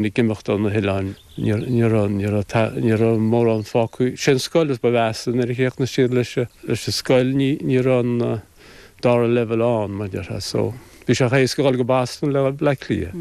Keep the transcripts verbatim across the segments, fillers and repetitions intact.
Ag imeacht ó na hoileáin ní raibh mórán fágtha. Sin scoil is ba mheasa nuair a chríochnaigh siad leis leis an scoil ní raibh an dara leibhéal ann mar déarfá so bhí sé éasca dul go Boston le Bleá Cliath.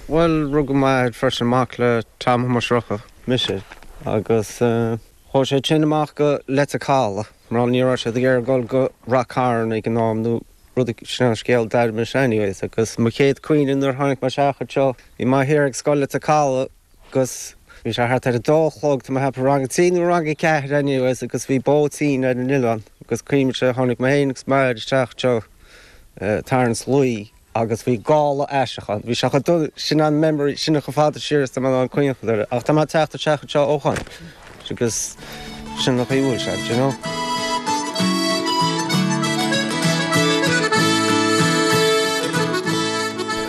Bhuel rugadh m'athair freisin mac le Tom Thomáis Rocca mise agus chuaigh sé sin amach go Leitir Caladh mar ní raibh siad ag iarraidh dul go Rath Cairn ag an am nó rud sin an scéal d'air mise anyways agus mo chéad chuimhne nuair tháinig mé isteach anseo bhí m'athair ag scoil Leitir Caladh agus bhí sé thart ar a dó a chlog tá mé ag ceapadh rang a trí nó rang a ceathair anyways agus bhí bóitín ar an oileán agus cuimhním tháinig mé féin agus m'athair isteach anseo tarraingt luí agus bhí gála aisteach ann. Bhí sé chomh dona sin an memory sin chomh fada siar is tá mé in ann cuimhneamh air ach tá mé ag teacht isteach anseo ó shin agus sin an chaoi a bhfuil sé, do you know.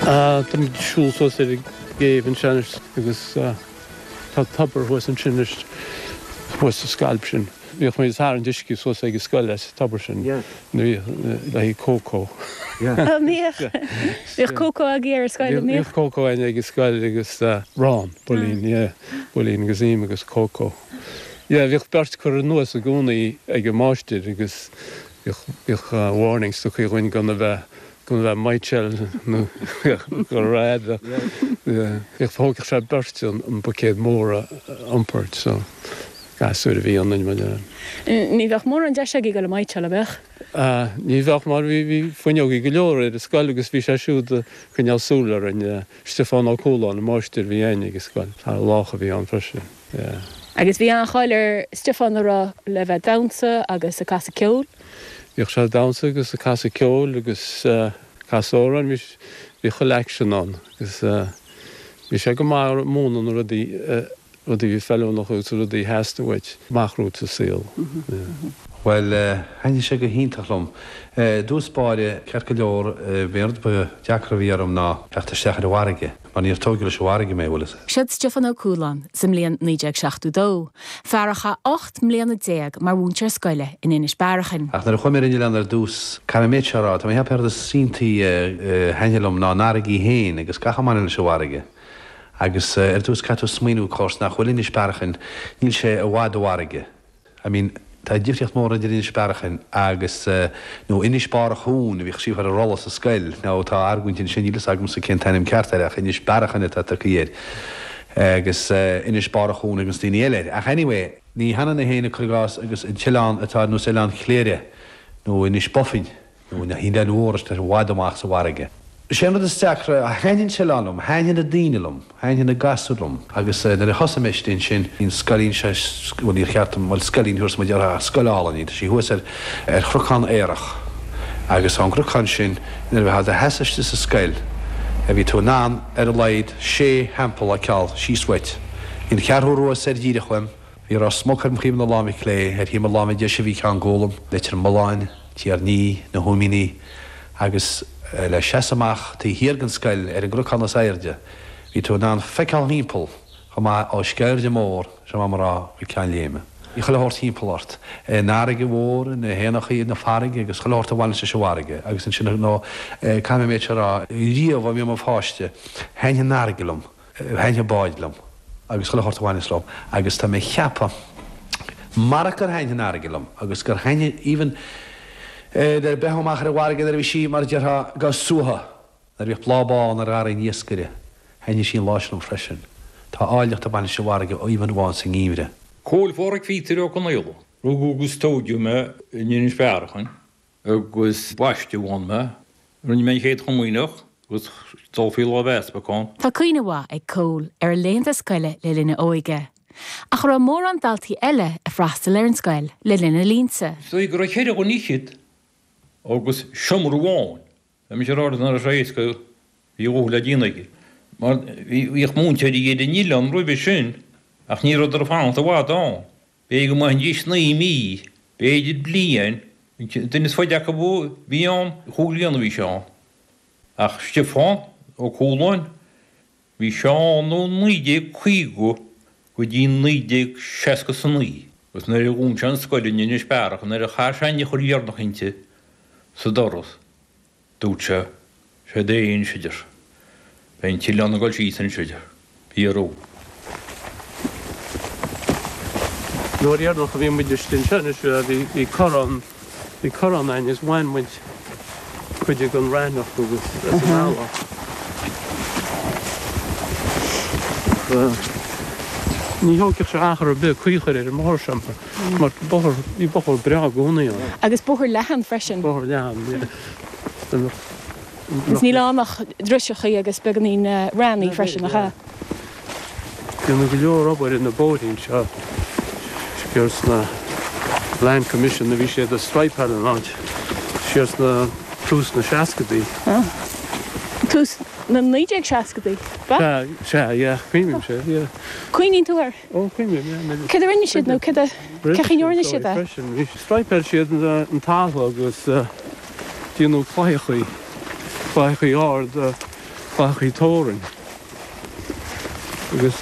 Tá muid ag siúl suas ar an gcéibh anseo anois agus tá tobar thuas ansin anois, thuas sa scailp sin. Bhíodh muid ag tarraingt uisce suas ag an scoil as an tobar sin nuair a bhíodh le haghaidh cócó. An mbíodh? Bhíodh cócó agaibh ar an scoil, an mbíodh? Bhíodh cócó againn ag an scoil agus arán, builín, yeah, builín agus im agus cócó. Yeah, bhíodh beirt curtha anuas i gcónaí ag an máistir agus bhíodh, bhíodh warnings tugtha dhúinn gan a bheith, gan a bheith ag maidhcseáil nó go raibh, yeah, bhíodh, thógfadh sé beirt an, an buicéad mór a iompar so gasúir a bhí ionainn mar a. Ní bheadh mórán deis agaibh dul ag maidhcseáil, an mbeadh? Ah, ní bheadh mar bhí, bhí fuinneogaí go leor ar an scoil agus bhí sé siúd ag coinneáil súil orainn, Stiofán Ó Cualáin, an máistir a bhí againn ag an scoil, fear lách a bhí ann freisin, yeah. Agus bhí an-cháil ar Stiofán an raibh le bheith ag damhsa agus ag casadh ceoil? Bhíodh sé ag damhsa agus ag casadh ceoil agus ag casadh amhráin, bhí bhí chuile aicsean ann agus bhí sé go maith ag múineadh na rudaí rudaí a bhí feiliúnach agus rudaí a theastaigh uait amach romhat sa saol. Bhuel, thaitnigh sé go hiontach liom. I dtús báire, ceart go leor, b'é an rud ba deacra a bhí orm ná teacht isteach ar an bhfarraige, mar níor tóigeadh leis an bhfarraige mé, bhfuil fhios. Siod Stiofán Ó Cualáin sa mbliain naoi déag seachtó dó, fear a chaith ocht mbliana déag mar mhúinteoir scoile in Inis Bearachain. Ach nuair a chuaigh mé ar an oileán ar dtús, caithfidh mé an méid seo a rá, tá mé ag ceapadh an rud is iontaí a thaitnigh liom ná an fharraige í féin agus gach a mbaineann leis an bhfarraige. Agus ar dtús caithfidh tú smaoineamh, of course, nach bhfuil Inis Bearachain, níl sé i bhfad ó fharraige. I mean, tá difríocht mór idir Inis Bearachain agus, nó Inis Barr a' Chuain a bhíodh scríofa ar an rolla sa scoil. Now tá argóint ansin, níl fhios agamsa cén t-ainm ceart air ach Inis Bearachain atá tugtha air agus Inis Barr a' Chuain ag na daoine eile air. Ach anyway, ní hionann é féin, cuir i gcás, agus an t-oileán atá ar nós Oileán Chléire nó Inis Bofainn. nó na hoileáin mhóra atá i bhfad amach sa bhfarraige. Is é an rud is deacra, thaitnigh an t-oileán liom, thaitnigh na daoine liom, thaitnigh na gasúir liom agus nuair a thosaigh mé istigh ansin, bhí an scoilín seo, bhuel níor cheart dom, bhuel scoilín thuas muid uirthi ach scoil álainn í, tá sí thuas ar ar chnocán aerach agus ón gcnocán sin nuair a bheifeá i do sheasamh istigh sa scoil bhí tú in ann ar a laghad sé theampall a fheiceáil síos uait. Bhí an Cheathrú Rua soir díreach uaim, Bhí Ros Muc ar thaobh na láimhe clé, ar thaobh mo láimhe deise bhí Ceann Gólaim, Leitir Mealláin, Tír an Fhia, na hÓimíní, agus le seasamh amach taobh thiar den scoil ar an gcnocán is airde, bhí tú in ann feiceáil thimpeall chomh maith ó Sceirde Mór, sé mar rá, go Ceann Léime. Bhí chuile shórt thimpeall ort, an fharraige mhór, na héanachaí, na farraige agus chuile shórt a bhaineas leis an bhfarraige agus ansin, nó caithfidh mé an méid seo a rá, riamh ó bhí mé i mo pháiste, thaitnigh an fharraige liom. Thaitnigh báid liom agus chuile shórt a bhaineas leo agus tá mé ag ceapadh marach gur thaitnigh an fharraige liom agus gur thaitnigh even nuair a bheifeá amach ar an bhfarraige nuair a bhí sí mar a déarfá ag suaitheadh nuair a bhíodh bláth bán ar gharraí an iascaire thaitnigh sí an lá sin liom freisin. Tá áilleacht ag baint leis an bhfarraige even amháin sa ngeimhreadh. Cóil Pháraic Phíotair Ó Conaola. Rugadh agus tóigeadh mé in Inis Bearachain agus baisteadh ann mé. Rinne mé an Chéad Chomaoineach agus dul faoi láimh easpaig ann. Tá cuimhne mhaith ag Cóil ar a laethanta scoile le linn a óige. Ach an raibh mórán daltaí eile ag freastal ar an scoil le linn a linnse? Is dóigh go raibh ceithre dhuine fhichead agus seomra amháin. Tá mise ag rá nach raibh sé éasca, bhí a dhóthain le déanamh aige. Mar bhíodh múinteoirí ar an oileán roimhe sin ach ní rabhadar ag fanacht i bhfad ann. B'fhéidir go mbeidís naoi mí, b'fhéidir bliain. An duine is faide acu a bhí ann, chúig bliana a bhí sé ann. Ach Stiofán Ó Cualáin, bhí sé ann ó naoi déag caoga go dtí naoi déag seasca is a naoi. Agus nuair a dhún sé an scoil in Inis Bearach, nuair a chaith sé an eochair dheireanach inti sa doras, Dúirt sé, Sé é anois a deir. Beidh an t-oileán ag dul síos anois a deir. Bhí a raibh. Nuair dheireanach a bhí muid istigh anseo anois bhí bhí corrán bhí corrán againn is bhain muid cuid den raithneach agus as an eallach. Ní thógfadh sé achar ar bith caoi a chur ar an mbóthar seo mar mar bóthar bhí bóthar breá i gcónaí ann. Agus bóthar leathan freisin. Bóthar leathan, yeah. Agus níl ann ach driseachaí agus beagáinín raithní freisin, nach ea? Déanadh go leor obair ar na bóithrí anseo siar sna Land Commission a bhí siad ag straidhpeáil an áit siar sna tús na seascadaí. Tús na naoi déag seascadaí, ba? Sea, sea, yeah, cuimhním-se, yeah. Cuimhníonn tú air? Ó, cuimhním, yeah. Céard a rinne siad nó céard a, cén chaoi a ndearna siad é? Straidhpeáil siad an talamh agus déanadh claíochaí, claíochaí ard, claíochaí tórainn. Agus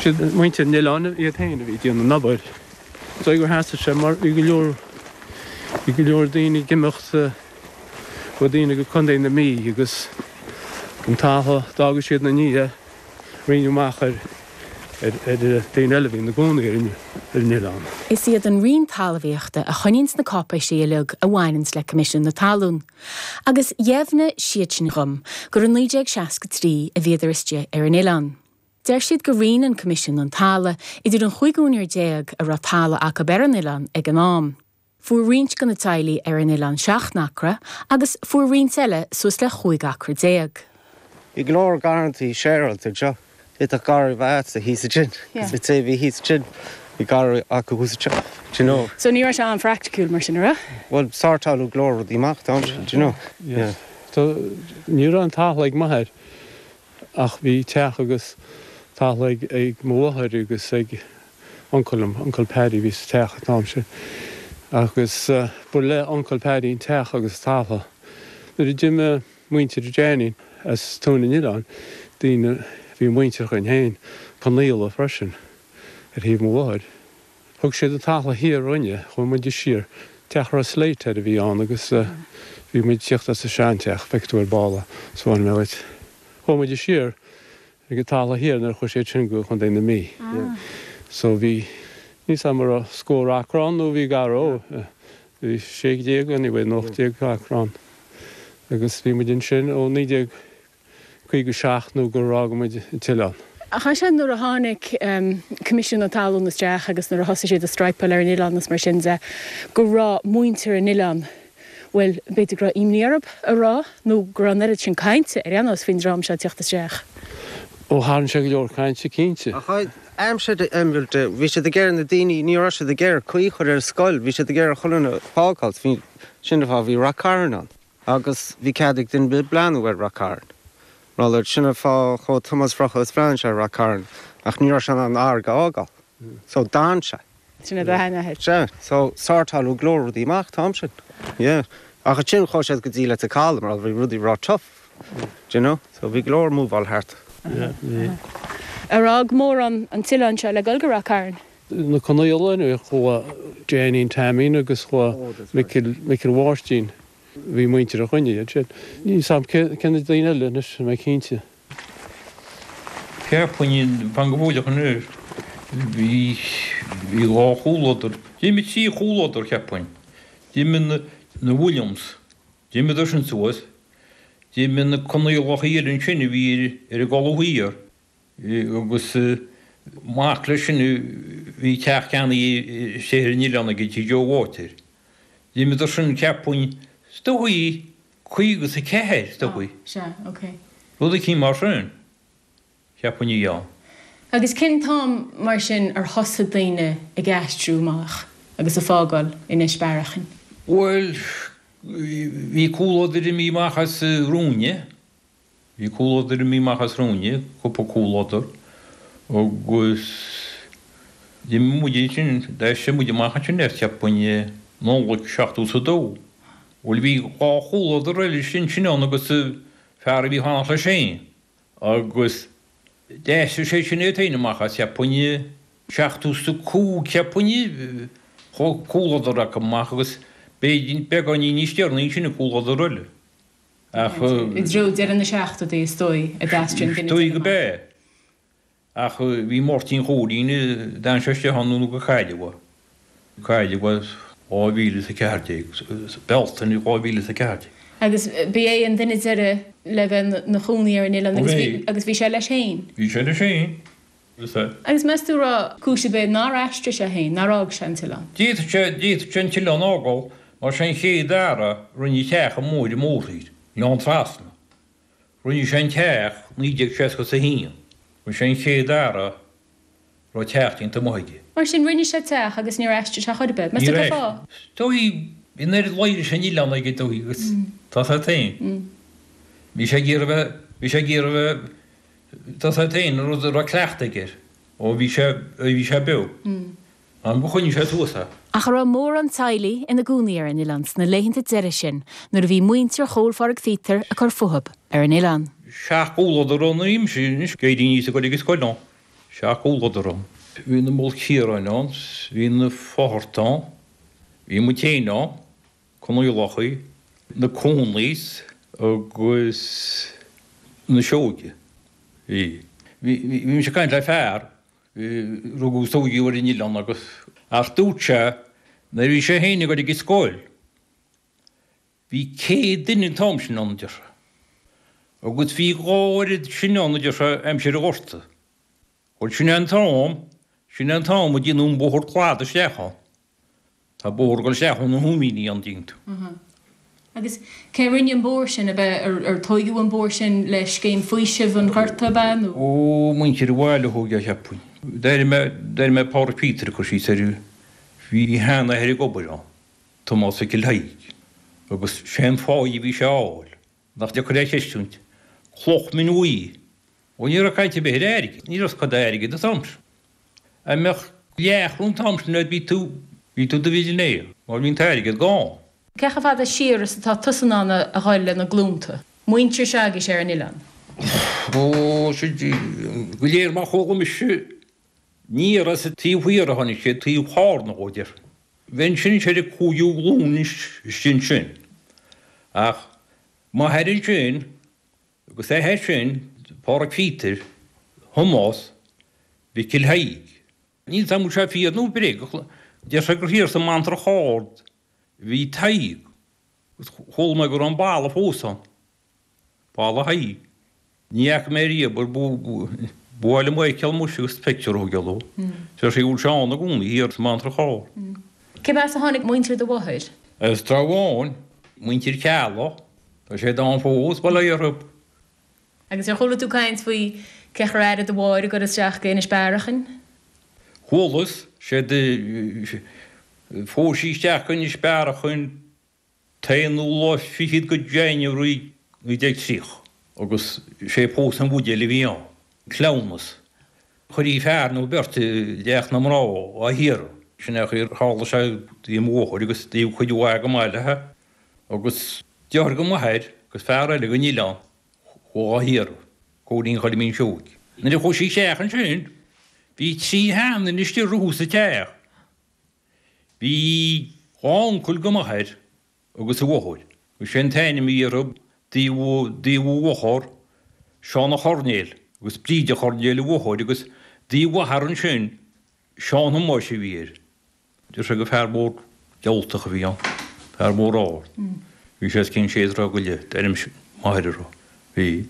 siad muintir an oileáin iad féin a bhí ag déanamh an obair. Is dóigh gur theastaigh sé mar bhí go leor, bhí go leor daoine ag imeacht, chuaigh daoine go Contae na Mí agus an talamh a d'fhága siad ina ndiaidh, roinneadh amach ar ar daoine eile a bhí ina gcónaí ar an oileán. Is iad an Roinn Talmhaíochta a choinníonns na cáipéisí uilig a bhaineanns le Coimisiún na Talún, agus dheimhnigh siad sin dhom gur i naoi déag seasca trí a bhíodar istigh ar an oileán. Deir siad gur roinn an Coimisiún an talamh idir an chúig úinéir déag a raibh talamh acu ar an oileán ag an am. Fuair roinnt de na teaghlaigh ar an oileán seacht n-acra agus fuair roinnt eile suas le chúig acra déag. Bhí go leor garrantaí séarailte anseo. D'fhéadfadh garraí a bheith agatsa thíos ansin agus an té a bhí thíos ansin, bhí garraí acu thuas anseo, do you know. So ní raibh sé an-phraiticiúil mar sin, an raibh? Bhuel, sórtáladh go leor rudaí amach, don't you, do you know? Yeah. So ní raibh an talamh ag m'athair ach bhí teach agus talamh ag ag mo mháthair agus ag uncail liom, Uncail Paddy a bhí sa teach an t-am sin. Agus ba le Uncail Paddy an teach agus talamh. Nuair a d'imigh muintir Janie as Tóin an Oileáin, daoine, bhí muintir againn féin, Conaola freisin, ar thaobh mo mháthair. Thug siad an talamh thiar dhúinne, chuaigh muide siar, teach a raibh slate air a bhí ann agus bhí muid ag tíocht as an seanteach, feicfidh tú ar ball é, 'spáinfidh mé dhuit. Chuaigh muide siar ag an talamh thiar nuair a chuaigh siad sin go Contae na Mí. So bhí, níl 's a'm an raibh scór acra ann nó bhí gar dó, bhí sé déag anyway nó ocht déag acra ann. Agus bhí muid ansin ó naoi déag caoga seacht nó gur fhág muid an t-oileán. Ach ansin nuair a tháinig Coimisiún na Talún isteach agus nuair a thosaigh siad ag straidhpeáil ar an oileán is mar sin de, go raibh muintir an oileáin, bhuel, b'fhéidir go raibh imní orthu a rá nó go raibh an oiread sin cainte ar aon nós faoin dream seo ag teacht isteach. Ó, tharraing sé go leor cainte, cinnte. Ach aimsir de, bhí siad ag iarraidh na daoine, ní raibh siad ag iarraidh caoi a chur ar an scoil, bhí siad ag iarraidh chuile dhuine a fhágáil, bhí, sin an fáth, bhí Rath Cairn ann agus bhí cead ag duine ar bith breathnú ar Rath Cairn. Mar sin an fáth chuaigh Tomás Bhrocha is bhreathnaigh sé ar Rath Cairn ach ní raibh sé in ann an fharraige a fhágáil. So d'fhan sé. Sin é do sheanathair. Sea. So sórtáladh go leor rudaí amach an t-am sin. Yeah. Ach ansin chuaigh siad go dtí Leitir Caladh mar bhí rudaí ró-tough. Do you know? So bhí go leor múváil thart. Yeah, bhí. Ar fhág mórán an t-oileán seo le dul go Rath Cairn? Na Conaola, chuaigh Janie Taimín agus chuaigh Micil, Micil Mháirtín. Bhí muintir againne ansin. Níl 's a'm cé na daoine eile anois, níl mé cinnte. Cheapfainn, fan go bhfóilleach anois, bhí, bhí dhá chomhluadar, d'imigh trí chomhluadar, cheapfainn. D'imigh na, na Williams, d'imíodar sin suas, d'imigh na Conaolacha eile ansin a bhí ar, ar an gColadh Thiar agus mac leis sin bhí teach ceannaithe istigh ar an oileán aige, Tigh Joe Mháirtín. D'imíodar sin, cheapfainn, is dóigh, caoga is a ceathair, is dóigh. Sea, ok. Rud eicínt mar sin, cheapfainn a bhí ann. Agus cén t-am, mar sin, ar thosaigh daoine ag aistriú amach agus ag fágáil Inis Bearachain? Bhuel, bhí comhluadar imithe amach as Rúinne. Bhí comhluadar imithe amach as Rúinne, cúpla comhluadar, agus d'imigh muid ansin, d'aistrigh muid amach ansin ar cheapfainn i Nollaig seachtó is a dó. Bhuel bhí dhá chomhluadar eile ansin ann agus fear a bhí ag fanacht leis féin agus d'aistrigh sé sin é féin amach as cheapfainn i seachtó is a cúig cheapfainn, chuaigh comhluadar acu amach agus b'fhéidir beagáinín níos deireanaí ansin an comhluadar eile. Ach I dtreo deireadh na seachtóidí is dóigh a d'aistrigh an duine Dóigh go deireadh amach. b'ea. Ach bhí Máirtín Chóilín, d'fhan sé isteach ann nó go cailleadh é. Cailleadh é dhá mhíle is a ceathair déag, Bealtaine dhá mhíle is a ceathair déag. Agus ba é an duine deireadh le bheith 'na chónaí ar an oileán agus bhí agus bhí sé leis féin. Bhí sé leis féin. Is ea. Agus meas tú raibh cúis ar bith nár aistrigh sé féin, nár fhág sé an t-oileán? D'fhéadfadh sé, d'fhéadfadh sé an t-oileán a fhágáil mar sé an chéad fhear a rinne teach an mhóir mórthír, Oileán Trasna. Rinne sé an teach naoi déag seasca is a haon. Bhí sé an chéad fhear a raibh teach déanta amuigh aige. Mar sin, rinne sé teach agus níor aistrigh sé chor ar bith. Meas tú cén fáth? Dóigh, bhí an oiread leis an oileán aige dóigh agus tá sé féin. Bhí sé ag iarraidh bheith, bhí sé ag iarraidh bheith, tá sé féin, an rud a raibh cleachtadh aige air ó bhí sé, ó bhí sé beo. Am go choinnigh sé suas é. Ach an raibh mórán teaghlaigh ina gcónaí ar an oileán sna laethanta deiridh sin nuair a bhí muintir Chóil Phádraig Phíotair ag cur fúthu ar an oileán. Seacht gcomhluadar ann aimsir anois, ag éirí aníos ag dul ag an scoil ann. Seacht gcomhluadar ann. Bhí na Maolchiaráin ann, bhí na Fátharta ann, bhí muid féin ann, Conaolachaí, na Conleys agus na Seoige. Bhí. Bhí, bhí mise ag caint le fear, rugadh is tógadh ar an oileán agus, ach dúirt sé nuair a bhí sé féin ag dul ag an scoil, bhí céad duine an t-am sin ann, a deir sé. Agus bhí dhá oiread sin ann, a deir sé, aimsir an Ghorta. Bhuel, sin é an t-am, sin é an t-am a déanadh an bóthar cladaigh isteach ann. Tá bóthar ag dul isteach ó na hÚimíní ann, dtuigeann tú. Agus cé a rinne an bóthar sin, ab ea, ar, ar tóigeadh an bóthar sin le scéim faoisimh an Ghorta, ab ea, nó? Ó, muintir an bhaile a thóg é, cheapfainn. D'airigh mé, d'airigh mé Pádraig Peter ag cur síos air, bhí a sheanathair ag obair ann, Tomás Mhicil Thaidhg, agus sé an pháigh a bhí sé a fháil, nach deacair é a chreistiúint, cloch min bhuí. Ó ní raibh caint ar bith ar airgead, ní raibh cad é airgead an t-am sin. Dá mbeadh leathchróin an t-am sin agat bhí tú, bhí tú i do mhillionaire, mar bhí an t-airgead gann. Cé chomh fada siar is atá tusa in ann a dhul le na glúnta, muintir s'agaibhse ar an oileán? Ó, sin go léir mar chuala mise, níor as an taobh thiar a tháinig siad, taobh Chárna dhó, déarfainn. Bheinn sin ar an cúigiú glúin anois istigh ansin. Ach m'athair ansin agus a athair sin, Pádraig Phíotair, Thomáis Mhicil Thaidhg. Níl 's a'm an bhfuil sé fíor nó bréag ach deir sé gur thiar sa mBantrach Ard a bhí Tadhg agus chuala mé go raibh an balla fós ann, Balla Thaidhg. Ní fhaca mé riamh ar ba mhaith liom é a fheiceáil muis agus pictiúr a thógáil dó. Deir sé go bhfuil sé ann i gcónaí thiar sa mBantrach Ard. Cé as a tháinig muintir do mháthar? As Trá Bháin, muintir Cheallaigh, tá siad ann fós, bail ó Dhia orthu. Agus ar chuala tú caint faoi cén chaoi ar airigh do mháthair ag dul isteach go Inis Bearachain? Chualas, sé do phós sí isteach go Inis Bearachain t-aonú lá fichead go January naoi déag tríocha agus sé pósadh an bhuidéil a bhí ann, cleamhnas. Chuirtí fear nó beirt i dteach na mná á hiarraidh. Sin é an chaoi ar tharla sé do mo mháthair agus do chuid mhaith go maith léi agus deartháir go m'athair agus fear eile den oileán. Chuaigh á hiarraidh, Cóilín Choilimín Seoighe. Nuair a chuaigh sí isteach ansin, bhí trí sheanduine istigh rompu sa teach. Bhí dhá uncail go m'athair agus a mháthair. Agus sé an t-ainm a bhí orthu, taobh taobh a mháthar, Seán a' Choirnéil, agus Bríd a' Choirnéil a mháthair, agus taobh a athar ansin, Seán Thomáis a bhí air. Deir sé gur fear mór gealtach a bhí ann, fear mór ard. Bhí sé os cionn sé throigh go leith, deir m'athair a rá. Bhí.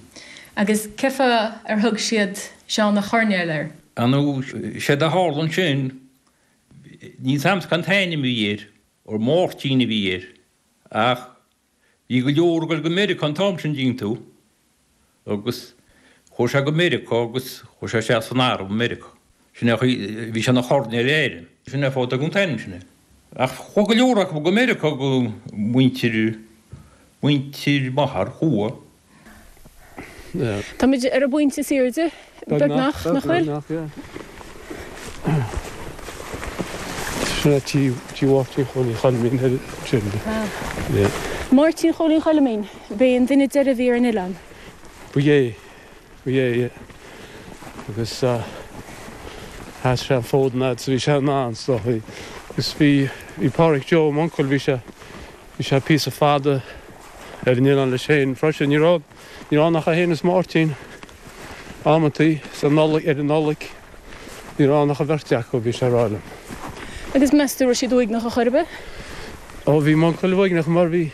Agus cén fáth ar thug siad Seán a' Choirnéil air? Ar ndóigh, séard a tharla ansin, níl 's a'msa cén t-ainm a bhí air, ar Máirtín a bhí air, ach bhí go leor ag dul go Meiriceá an t-am sin, dtuigeann tú, agus chuaigh sé go Meiriceá agus chuaigh sé isteach san arm i Meiriceá. Sin é an chaoi, bhí sé ina choirnéal ar Éirinn. Sin é an fáth a dtugadh an t-ainm sin air. Ach chuaigh go leor acu go Meiriceá go muintir, muintir m'athar, chuaigh. Táimid ar an bpointe is airde, beagnach, nach bhfuil? Beagnach, yeah. Sin é tí, tí Mháirtín Chóilín Choilmín ar sin. Yeah. Máirtín Chóilín Choilmín, b'é an duine deiridh a bhí ar an oileán. Ba é, ba é, yeah. Agus sheas sé an fód an fhad is a bhí sé in ann, is dócha. Agus bhí, bhí Páraic Joe, m'uncail, bhí sé, bhí sé píosa fada ar an oileán leis féin freisin. Ní raibh ní raibh ann ach é féin is Máirtín amantaí sa Nollaig ar an Nollaig. Ní raibh ann ach an bheirt acu, bhí sé ag rá liom. Agus meas tú raibh siad uaigneach ar chor ar bith? Ó bhí m'uncail uaigneach mar bhí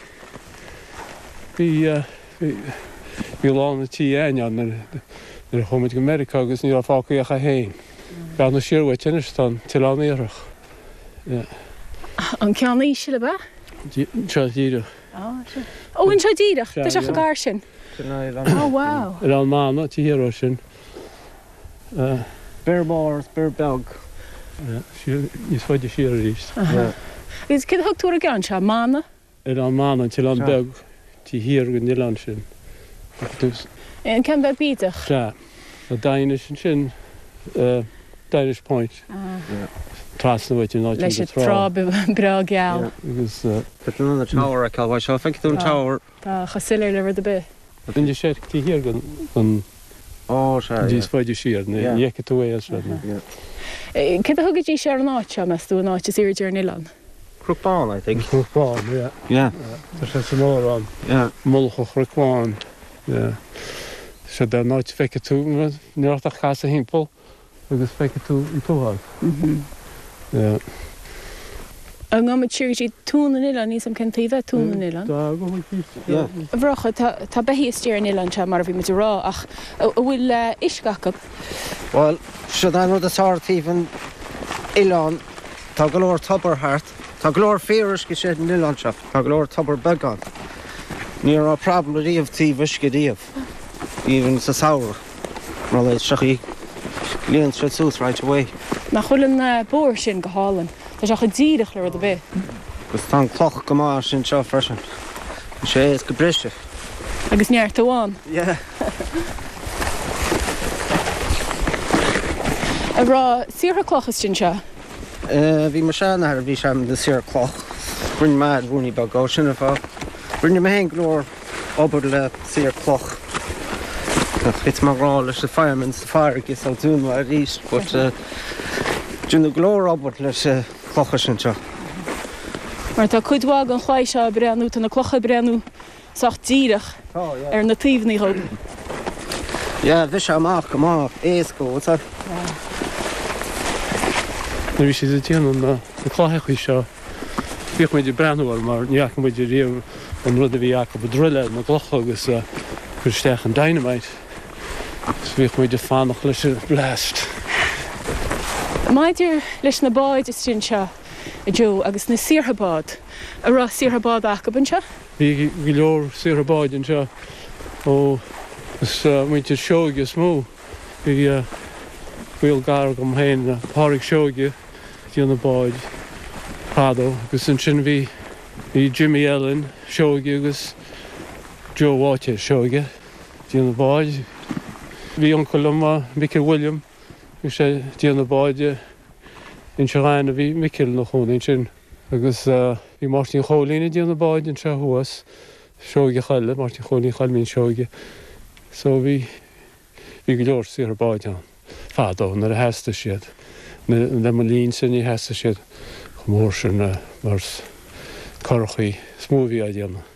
bhí bhí bhí lán an tí againn ann nuair nuair a chuaigh muid go Meiriceá agus ní raibh fágtha ach é féin. Breathnaigh siar uait anois tá an tOileán Iartharach. Yeah. An ceann íseal ab ea? Seo díreach. Á, seo. Ó, anseo díreach? Tá sé chomh gar sin. Sin é Oileán. Ó, wow. Oileán Manna, taobh thiar ó sin. Bior Mór is Bior Beag. Siar, níos faide siar arís. Agus céard a thug tú ar an gceann seo? Manna? Oileán Manna, an t-oileán beag taobh thiar den oileán sin. An ceann beag bídeach? Sea. Tá Daighinis ansin. Daighinis Point. Trasna uait in áit Leis an trá breá geal. Agus. Tá tú in ann an tower a fheiceáil uaidh seo. Feicfidh tú an tower. Tá chomh soiléir le rud ar bith. Inis Oirr taobh thiar den. Ó, sea, yeah. Níos faide siar, ní fheicfidh tú é as seo. Céard a thugaidís ar an áit seo, meas tú, an áit is airde ar an oileán? Cnoc Bán, I think. Cnoc Bán, yeah. Yeah. Tá sé san amhrán. Yeah. Mullach an Chnoic Bháin. Yeah. Sé an áit a bhfeicfidh tú, ní raibh ort ach casadh thimpeall agus feicfidh tú an t-uafás. Yeah. An ngabhfaidh muid siar go dtí Tóin an Oileáin, níl 'fhios a'm cén taobh é Tóin an Oileáin. Tá, gabhfaidh muid síos. Yeah. A Mhurchadh, tá, tá beithígh istigh ar an oileán seo mar a bhí muid a rá ach an bhfuil uisce acu? Bhuel, siod é an rud is fearr taobh an oileáin, tá go leor tobar thart, tá go leor fíoruisce istigh ar an oileán seo, tá go leor tobar beag ann. Ní raibh problem riamh taobh uisce riamh, even sa samhradh, mar le seo í, líonann siad suas right away. Nach bhfuil an bóthar sin go hálainn? Tá sé chomh díreach le rud ar bith. Agus tá an cloch go maith sin seo freisin. Tá sé éasca briseadh. Agus neart amháin. Yeah. An raibh saortha cloch istigh anseo? Bhí mo sheanathair, bhí sé ina saor cloch. Rinne m'athair ruainní beag dó, sin an fáth. Rinne mé féin go leor obair le saor cloch. Thit mé i ngrá leis na firemen sa farraige so dúnadh mé arís but déanadh go leor obair leis na clocha sin seo. Mar tá cuid mhaith den chlaí seo ag breathnú, tá na clocha ag breathnú sách díreach ar na taobhanna dhób. Yeah, bhí sé amach go maith, éasca, what's that? Nuair a bhí siad ag déanamh na cloicheachaí seo, bhíodh muid ag breathnú orthu mar ní fhaca muid riamh an rud a bhí acu ag druileáil na gclocha agus cur isteach an dynamite. So bhíodh muid ag fanacht leis an blast. Maidir leis na báid istigh anseo, a Joe, agus na saortha bád, an raibh saortha bád acu anseo? Bhí go leor saortha báid anseo ó is muintir Seoige is mó. Bhí gaol gar agam féin le Pádraig Seoige ag déanamh báid fadó agus ansin bhí bhí Jimmy Ellen Seoige agus Joe Bháitéir Seoige ag déanamh báid. Bhí uncail liom, Micil William, bhí sé ag déanamh báid i Inse Ghainimh, bhí Micil ina chónaí ansin agus bhí Máirtín Chóilín ag déanamh báid anseo thuas, Seoigeach eile, Máirtín Chóilín Choilmín Seoige. So bhí bhí go leor saortha báid ann fadó nuair a theastaigh siad. Le mo linnse ní theastaigh siad chomh mór sin mar curachaí is mó a bhí á déanamh.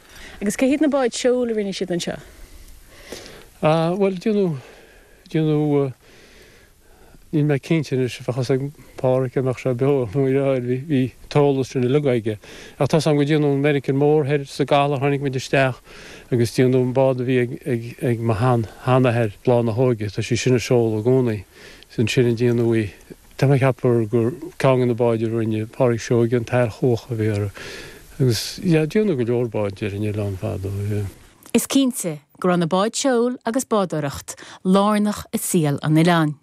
Agus cé hiad na báid seoil a rinne siad anseo? Ah, bhuel, déanadh, déanadh, níl mé cinnte anois, bheadh fhios ag Páraic dá mbeadh sé beo, nó bhí, bhí an t-eolas sin uilig aige. Ach tá's agam go déanadh an Meiricean Mór thoir sa gcaladh, tháinig muid isteach agus déanadh an bád a bhí ag, ag, ag mo shean, sheanathair, Bláth na hÓige, tá sí sin ag seoladh i gcónaí. Is ansin a déanadh í. Tá mé ag ceapadh gur ceann de na báid a rinne Páraic Seoige, an tAer Chuach a bhí uirthi. Agus, yeah, déanadh go leor báid ar an oileán fadó, yeah. Is cinnte go raibh na báid seoil agus bádóireacht lárnach i saol an oileáin.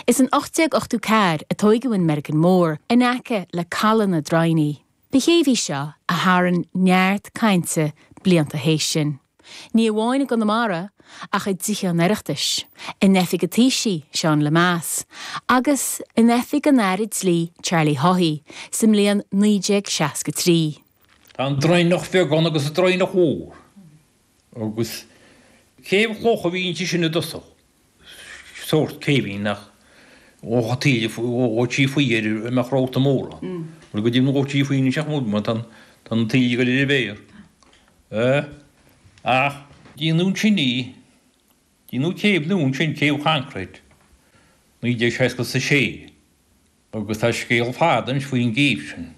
Is in ocht déag ochtó ceathair a tóigeadh an Meiricean Mór in aice le Caladh na Droighní. Ba chéibh í seo a tharraing neart cainte blianta théis sin. Ní amháin i gConamara ach i dTithe an Oireachtais, in oifig an Taoisigh, Seán Lemass, agus in oifig an Aire Dlí, Charlie Haughey, sa mbliain naoi déag seasca trí. Tá an Droighneach Bheag ann agus an Droighneach Mhór. Agus céibh chloch a bhí inti sin i dtosach, sórt céibhín nach dhóchadh taoille dhóití faoi ar a mbeadh rabhta mór ann. Mar go deimhin dhóití faoi anois ach mar tá an taoille ag dul ar a mhéar. Ach déanadh ansin í, déanadh céibh nua ansin, céibh choincréit, naoi déag seasca is a sé, agus tá scéal fada anois faoin gcéibh sin,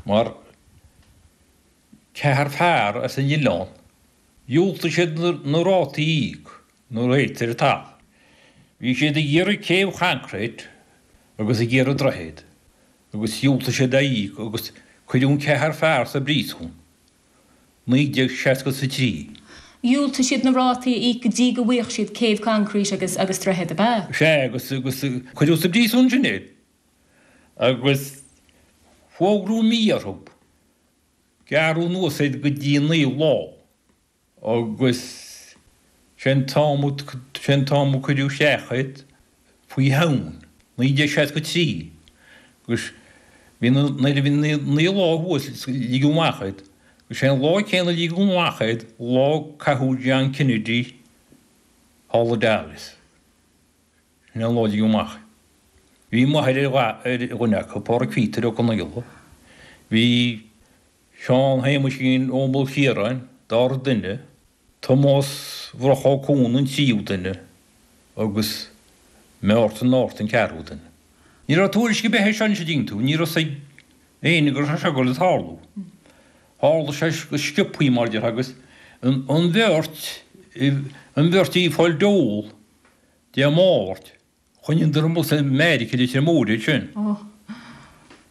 mar ceathrar fear as an oileán, dhiúltaigh siad na rátaí a íoc, na rates ar an talamh. Bhí siad ag iarraidh céibh choincréit agus ag iarraidh droichead agus dhiúltaigh siad é a íoc agus cuireadh an ceathrar fear sa bpríosún, naoi déag seasca is a trí. Dhiúltaigh siad na rátaí a íoc go dtí go bhfaigheadh siad céibh coincréit agus agus droichead, ab ea? Sea, agus agus cuireadh sa bpríosún sin iad agus fógraíodh mí orthu. Gearradh anuas iad go dtí naoi lá agus sé an t-am sé an t-am a cuireadh isteach iad faoi Shamhain, naoi déag seasca trí, agus bhí na, nuair a bhí naoi lá thuas ligeadh amach iad, agus sé an lá céanna a ligeadh amach iad, lá a caitheadh John Kennedy thall i Dallas. Sin é an lá a ligeadh amach iad. Bhí m'athair ar dhuine acu, Pádraig Phíotair Ó Conaola. Bhí Seán Shéamuisín Ó Maoilchiaráin, dara duine, Tomás Mhurchadh Ó Cuan an tríú duine agus Mártan Norton an ceathrú duine. Ní raibh tuairisc ar bith air seo anois an dtuigeann tú, ní raibh fhios ag éinne go raibh sé seo ag dul ag tarlú. Tharla sé go sciobthaí mar a déarfá agus an bheirt, an bheirt a bhí ag fáil dole Dé Máirt, Choinníodar amuigh sa Meirice i Leitir Móir iad sin.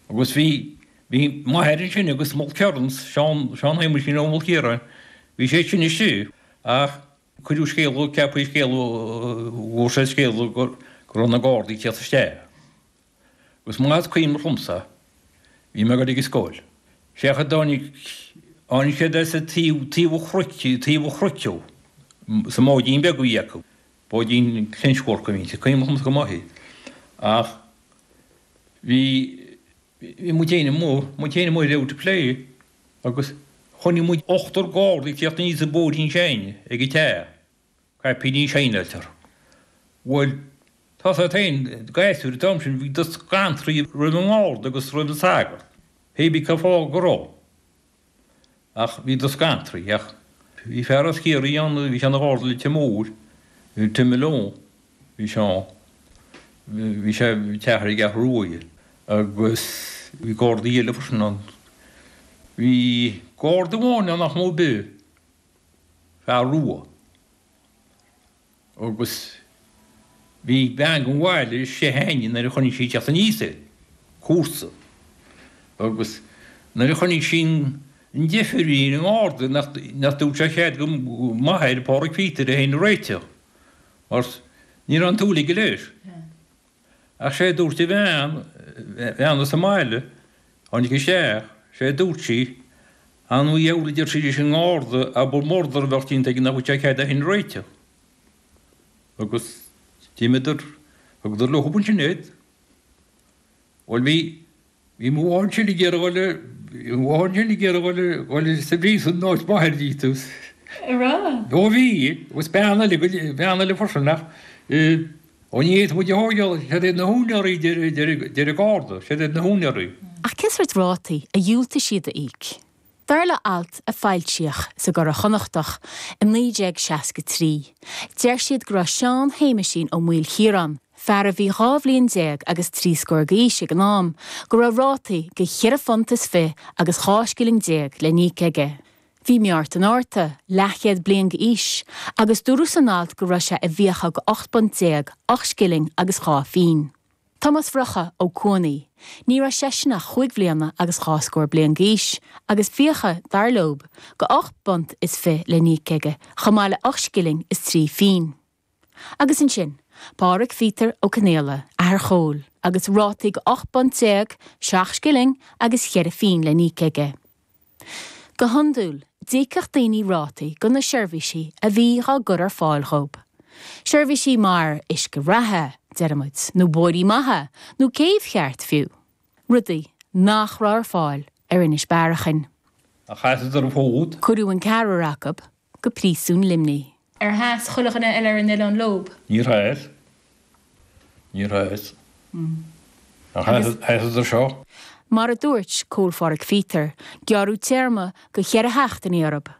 Agus bhí, bhí m'athair ansin agus Mulkerrins, Seán, Seán Shéamuisín Ó Maoilchiaráin, bhí sé sin istigh ach cuireadh scéala, ceapadh scéala, bhfuair sé scéala go raibh na Gardaí ag tíocht isteach. Agus más cuimhin liomsa, bhí mé ag dul ag an scoil. Sé a dtáinig, tháinig siad as an taobh, taobh an chnoic, taobh an chnoic ó, sa mbáidín beag a bhí acu. Báidín clinchwork a bhí inti, cuimhin liomsa go maith í. Ach bhí, bhí muid féin amuigh, muid féin amuigh ar out ag plé agus chonaic muid ochtar gardaí ag tíocht aníos an bóithrín s'againne ag an teach, caipíní saighneáilte orthu. Bhuel, tá a fhios agat féin, gasúir an t-am sin, bhíodar scanraithe roimh an ngarda agus roimh an sagart, pé bí cén fáth go raibh. Ach bhíodar scanraithe. Ach bhí fear as Ciarraí ann, bhí sé ina gharda i Leitir Móir, Tim Malone, bhí sé ann. Bhí sé ag teach ar an gCeathrú Rua agus bhí gardaí eile freisin ann. Bhí garda amháin ann nach mó ar bith, fear rua. Agus bhí bean den bhaile istigh againne nuair a chonaic sí ag teacht aníos é, comharsa. Agus nuair a chonaic sí an deifir a bhí ar an ngarda nach dtabharfadh sé cead do m'athair, Pádraig Phíotair, é féin a réiteach, mar ní raibh an tsúil aige leis. Ach sé a dúirt a bhean, bean as an mbaile, tháinig isteach, sé a dúirt sí, An diabhal a deir sí leis an ngarda, abair murdar a bheadh déanta aige nach bhfuil sé cead é féin a réiteach. Agus d'imíodar, thugadar leo ansin iad. Bhuel bhí, bhí mo mháthair ansin ag iarraidh dhul, bhí mo mháthair ansin ag iarraidh dhul, dhul sa bpríosún in áit m'athair díot. An raibh? Ó bhí, agus bean eile, bean eile freisin ach eh, ó ní fhéadfadh muid a thógáil, siad iad na húinéirí, deir an garda, siad iad na húinéirí. Ach cén sórt rátaí a dhiúltaigh siad a íoc? Dar le alt a foilsíodh sa gCuradh Chonnachtach i naoi déag seasca trí, deir siad go raibh Seán Shéamuisín Ó Maoilchiaráin, fear a bhí dhá bhliain déag agus trí scór d'aois ag an am, go raibh rátaí de cheithre phunt is fiche agus dhá scilling déag le n-íoc aige. Bhí Mártan Arta leathchéad bliain d'aois agus dúradh san alt go raibh sé i bhfiacha de ocht bpunt déag, ocht scilling agus dhá phingin. Tomás Mhurchadh Ó Cuanaí, ní raibh seisean ach chúig bhliana agus dhá scór bliain d'aois, agus fiacha, dar leob, de ocht bpunt is fiche le n-íoc aige, chomh maith le ocht scilling is trí phingin. Agus ansin, Pádraig Phíotair Ó Conaola, athair Chóil, agus rátaí de ocht bpunt déag, seacht scilling agus cheithre phingin le n-íoc aige. Go hiondúil, d'íocfadh daoine rátaí do na seirbhísí a bhí dhá gcur ar fáil dhób. Seirbhísí mar uisce reatha, deirimid, nó bóithrí maithe, nó céibh cheart fiú. Rudaí nach raibh ar fáil ar Inis Bearachain. Ach sheasadar an fód. Cuireadh an ceathrar acu go Príosún Luimnigh. Ar sheas chuile dhuine eile ar an oileán leob? Níor sheas. Níor sheas. Ach sheasadar seo. Mar a dúirt Cóil Phádraig Phíotair, gearradh téarma de cheithre sheachtainí orthu,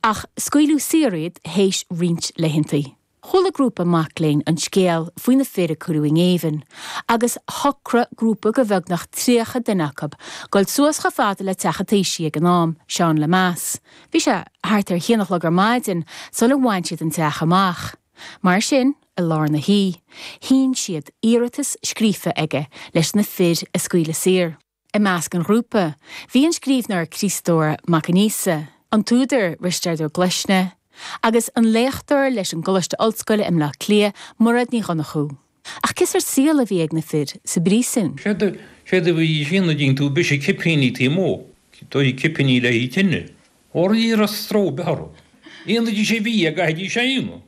ach scaoileadh saor iad théis roinnt laethantaí. Chuala grúpa mac léinn an scéal faoi na fir a cuireadh i ngéibheann, agus shocraigh grúpa de bheagnach tríocha duine acu dul suas chomh fada le teach an Taoisigh ag an am, Seán Lemass. Bhí sé thart ar haon a chlog ar maidin sula bhain siad an teach amach. Mar sin, i lár na hoíche, shín siad iarratas scríofa aige leis na fir a scaoileadh saor. I measc an ghrúpa, bhí an scríbhneoir Críostóir Mac Aonghusa, an t-údar Risteard Ó Glaisne, agus an léachtóir leis an gColáiste Ollscoile i mBleá Cliath, Mairéad Ní Dhonnchú. Ach cén sórt saol a bhí ag na fir sa bpríosún. Séard a bhí sin a dtíonn tú bise cipíní taobh amuigh, dóigh cipíní le haghaidh tine. Óir ní raibh stró ar bith orthu. Aonaidís sé bhí ag gcaithfidís a aonadh.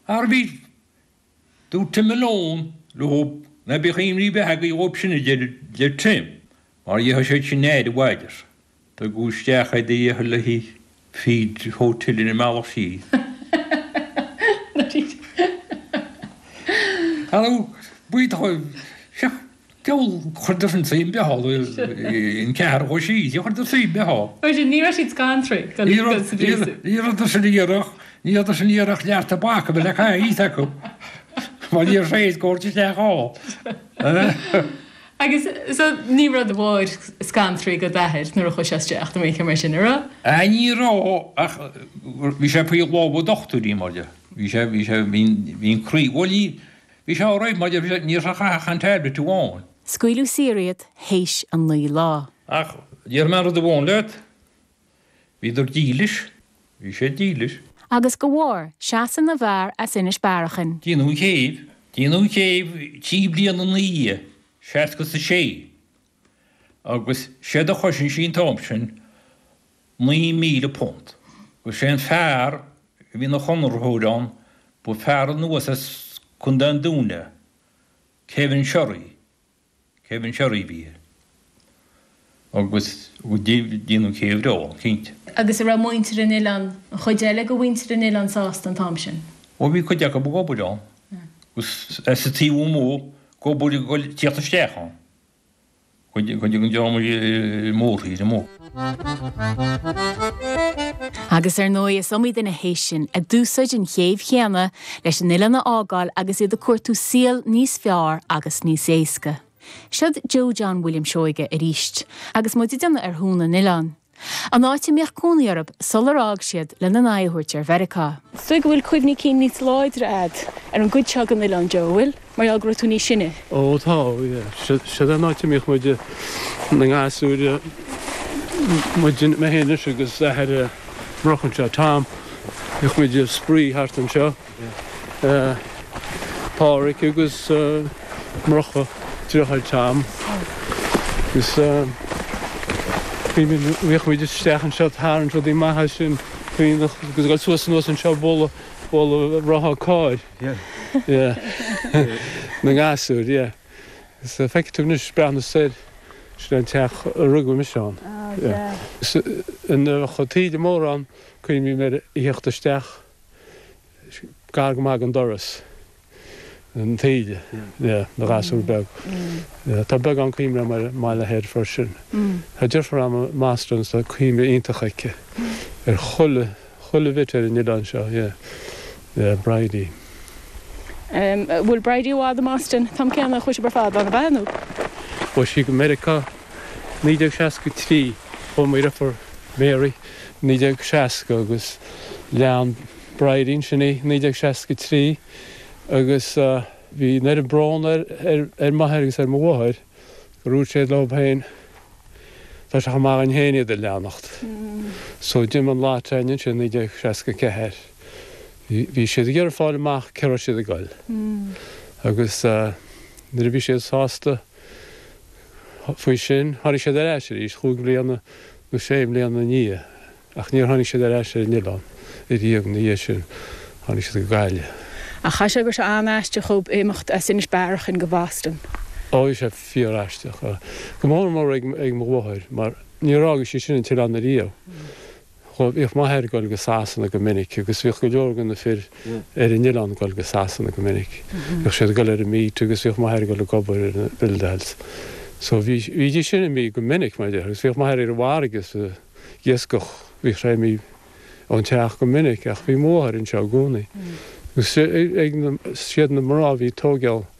Ar bhí dúirt Tim Malone leo ná bíodh imní ar bith agaibh dhóibh sin a deir Tim, mar gheobhaidh siad sin aire mhaith air. Tugadh isteach é de dhícheall le haghaidh feed hotel ina mbealach síos. Tharla buíoch seach deabhal chuireadar sin suim bheatha an ceathair chuaigh síos, chuireadar suim beatha. Mar sin, ní raibh siad scanraithe go sa bpríosún. Ní rabhadar sin ag iarraidh, ní rabhadar sin ag iarraidh lear tobac a bheith le caitheamh acu mar ní raibh sé ag tabhairt isteach ann. Agus so ní raibh do mháthair scanraithe go d'athair nuair a chuaigh sé isteach nó aon mar sin, an raibh? Ah ní raibh ach bhí sé faoi lámha dochtúirí mar dhea. Bhí sé, bhí sé, bhí, bhí an croí, bhuel ní, bhí sé alright mar dhea, bhí sé, ní raibh sé ach an tablet amháin. Scaoileadh saor iad théis an naoi lá. Ach déarfaidh mé rud amháin leat, bhíodar dílis, bhí siad dílis. Agus go bharr seasamh na bhfear as Inis Bearachain. Déanadh an chéibh, déanadh an chéibh trí bliana ina dhiaidh, seasca is a sé, agus séard a chosain sí an t-am sin naoi míle punt. Agus sé an fear a bhí ina chonraitheoir ann, ba fear anuas as Contae an Dúin é, Kevin Sherry, Kevin Sherry a bhí air. Agus déanadh an chéibh leo, cinnte. Agus an raibh muintir an oileáin, an chuid eile de mhuintir an oileáin sásta an t-am sin? Ó bhí cuid acu ag obair ann. Agus as an taobh amuigh ag obair ag dul tíocht isteach ann. Cuid den dream i mórthír amuigh. Agus ar ndóigh is iomaí duine théis sin a d'úsáid an chéibh chéanna leis an oileán a fhágáil agus iad ag cuartú saol níos fearr agus níos éasca. Siod Joe John William Seoige arís, agus muid ag déanamh ar Thún an Oileáin. An áit a mbíodh cónaí orthu sular fhág siad lena n-aghaidh a thabhairt ar Mheiriceá. Is dóigh go bhfuil cuimhní cinn níos láidre a'd ar an gcuid seo den oileán, Joe, an bhfuil? Mar gheall go raibh tú níos sine. Ó tá, yeah. Siod an áit a mbíodh muid na gasúir, muid, mé féin anois agus athair Murchadh anseo, Tom, bhíodh muid ag spraoi thart anseo. Páraic agus Murchadh, deartháir Tom. Agus bhíodh muid isteach anseo ag tarraingt rudaí maithe sin agus ag dul suas anuas anseo ag bualadh bualadh rotha cairr. Yeah. Na gasúir, yeah. Agus feicfidh tú anois breathnú soir, sin an teach a rugadh mise ann. Yeah. Nuair a bheadh taoide mór ann, cuimhním ar theacht isteach gar go maith don doras, an taoide, yeah, na gasúr beag. Yeah, tá beagán cuimhne agam ar an mBaile Thoir freisin. Tá deirfiúr agam i mBoston is tá cuimhne iontach aici ar chuile, chuile bhit ar an oileán seo, yeah, yeah, Bridie. An bhfuil Bridie i bhfad i mBoston an t-am céanna a chuaigh sibh ar fad ann, ab ea, nó? Chuaigh sí go Meiriceá naoi déag seasca trí, chuaigh mo dheirfiúr Mary naoi déag seasca agus lean Bridie ansin í naoi déag seasca trí agus bhí an oiread brón ar ar m'athair agus ar mo mháthair gur dhúirt siad leo féin tá sé chomh maith againn féin iad a leanacht. So d'imigh an lot againn ansin naoi déag seasca ceathair. Bhí siad ag iarraidh fáil amach cá raibh siad ag goil. Agus nuair a bhí siad sásta faoi sin, tháinig siad ar ais arís chúig bhliana nó sé mbliana ina dhiaidh. Ach níor tháinig siad ar ais ar an oileán ariamh ina dhiaidh sin, tháinig siad go Gaillimh. Ach chaithfidh sé go raibh sé an-aisteach dhóibh imeacht as Inis Bearachain go Boston. Ó, bhí sé fíor-aisteach. Go mór mór ag mo mháthair, mar níor fhág sí sin an t-oileán ariamh. Bhíodh m'athair ag dul go Sasana go minic agus bhíodh go leor de na fir ar an oileán ag dul go Sasana go minic. Bhíodh siad ag dul ar an meet agus bhíodh m'athair ag dul ag obair ar na buildeáils. So bhí, bhídís sin imithe go minic mar a déarfá agus bhíodh m'athair ar an bhfarraige sa iascach, bhíodh sé imithe ón teach go minic ach bhí máthair anseo i gcónaí. Agus ag siad na mná bhí tógáil